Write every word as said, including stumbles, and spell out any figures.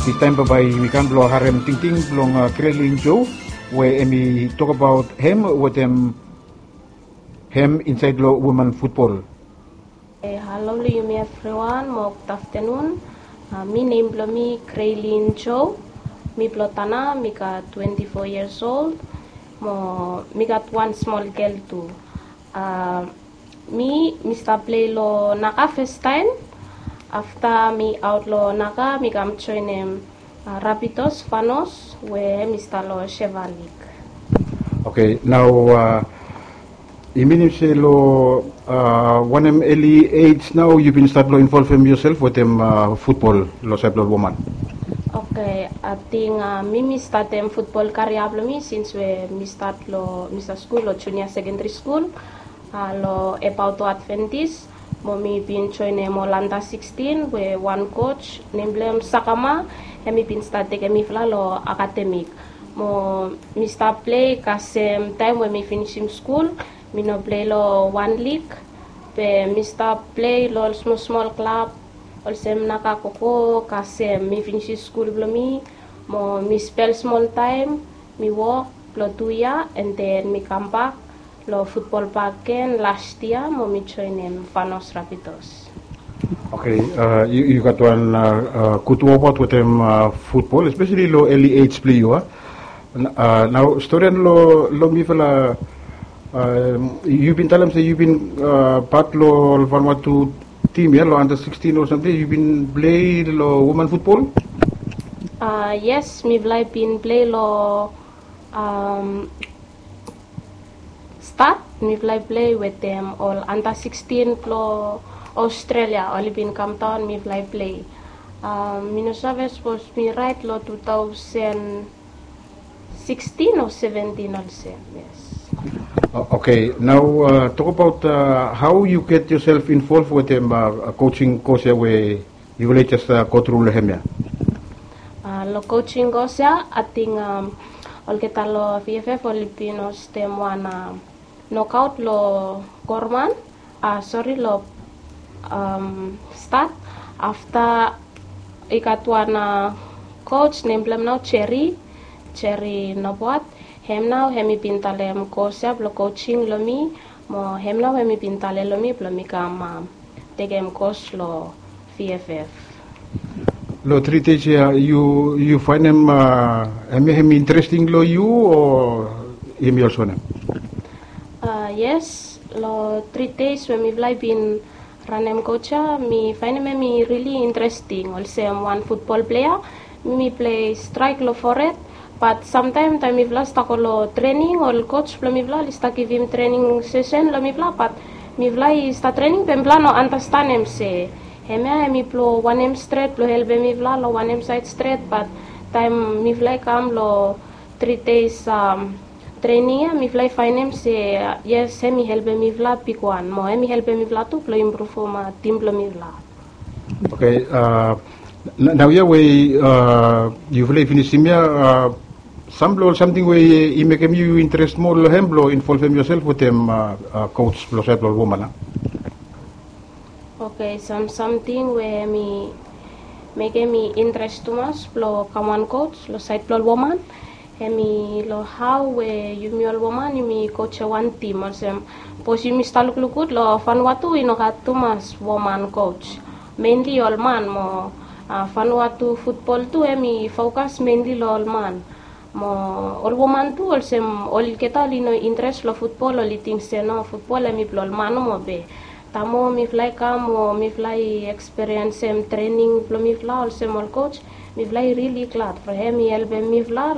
Distaem bambae yumi kam blong harem tingting blong Kreilin Jo we hemi tokbaot hem wetem hem insaed long woman futbol. Halo long yumi evriwan mo gud aftenun. Mi nem blong mi Kreilin Jo. Mi blong Tanna, mi gat twenti fo yias ol. Mo mi gat wan smol gel tu. Mi mi stap plei long Naga fastaem. Afta mi aot long Naga mi kam joenem Rapitos Fanos we mi stap long Sheva Lig. Oke, nao i minim se long wanem eli ej nao yu bin stat long involvem yosel wetem futbol long saed blong ol woman? Oke, ating mi mi statem futbol karia blong mi sins we mi stat long mi stat skul long junia sekendri skul. Long Epaoto Adventis mo mi bin joenem ol anta sikstin we wan koj nem blong hem Sakama, hemi bin stat tekem mifala long akademik. Mo mi stap plei kasem taem we mi finisim skul. Mi no plei long wan lig, be mi stap plei long ol smol smol klab olsem Naga Koko kasem mi finisim skul blong mi. Mo mi spel smol taem mi wok blong tu yia, and then mi kambak long futbol bak gen las yia mo mi joenem Fanos Rapitos. Oke, yu gat wan gud wokbaot wetem futbol, espeseli long eli ej blong yu a. Nao storian long mifala, yu bin talem se yu bin pat long ol Vanuatu tim ya long anta sikstin o samting, yu bin plei long woman futbol? Yes, mifala i bin plei long stat. Mifala i plei wetem ol anta sikstin blong Australia, oli bin kamdaon, mifala i plei. Mi no save sapos mi raet long tu taosen sikstin o seventin olsem. Yes. Oke, nao tokbaot hao yu get yosel involv wetem kojing kos ya we yufala i jes gotru long hem ya? Long kojing kos ya ating olgeta long VFF oli bin hostem wan nokaot long Gorman, sori, long stat. Afta i gat wan koj nem blong hem nao Jeri, Jeri Noboat. Hem nao hemi bin talem kos ya blong kojing long mi. Mo hem nao hemi bin talem long mi blong mi kam tekem kos long VFF. Long tri dej ya yu faenem hemia hemi interesting long yu o hemi olsem wanem? Yes, long tri dej we mifala i bin ranem koj ya mi faenem hemi rili interesting olsem wan futbol plea. Mi mi plei straek long fored. Bat samtaem taem mifala stap go long trening, ol koj blong mifala oli stap givim trening sesen long mifala, bat mifala i stap trening be mifala no andastanem se hemia hemi blong wanem stret blong helpem mifala long wanem saed stret. Bat taem mifala i kam long tri dej trening ya mifala i faenem se yes, hemi helpem mifala bigwan mo hemi helpem mifala tu blong impruvum tim blong mifala. Oke, naoia we yufala i finisim ya, sam blong ol samting we i mekem yu interes moa long hem blong involvem yosel wetem koj blong saed blong ol woman a? Oke, sam samting we hemi mekem mi interes tumas blong kam wan koj long saed blong ol woman, hemi long hao we yumi ol woman yumi kojem wan tim olsem. Bikos yumi stap lukluk gud long Vanuatu i no gat tumas woman koj, menli ol man mo Vanuatu futbol tu hemi fokas menli long ol man. Mo ol woman tu olsem olgeta oli no interes long futbol, oli ting se no, futbol hemi blong ol man nomo be taem mifala i kam o mifala i ekspiriensem trening blong mifala olsem ol koj, mifala i rili glad from hemi helpem mifala.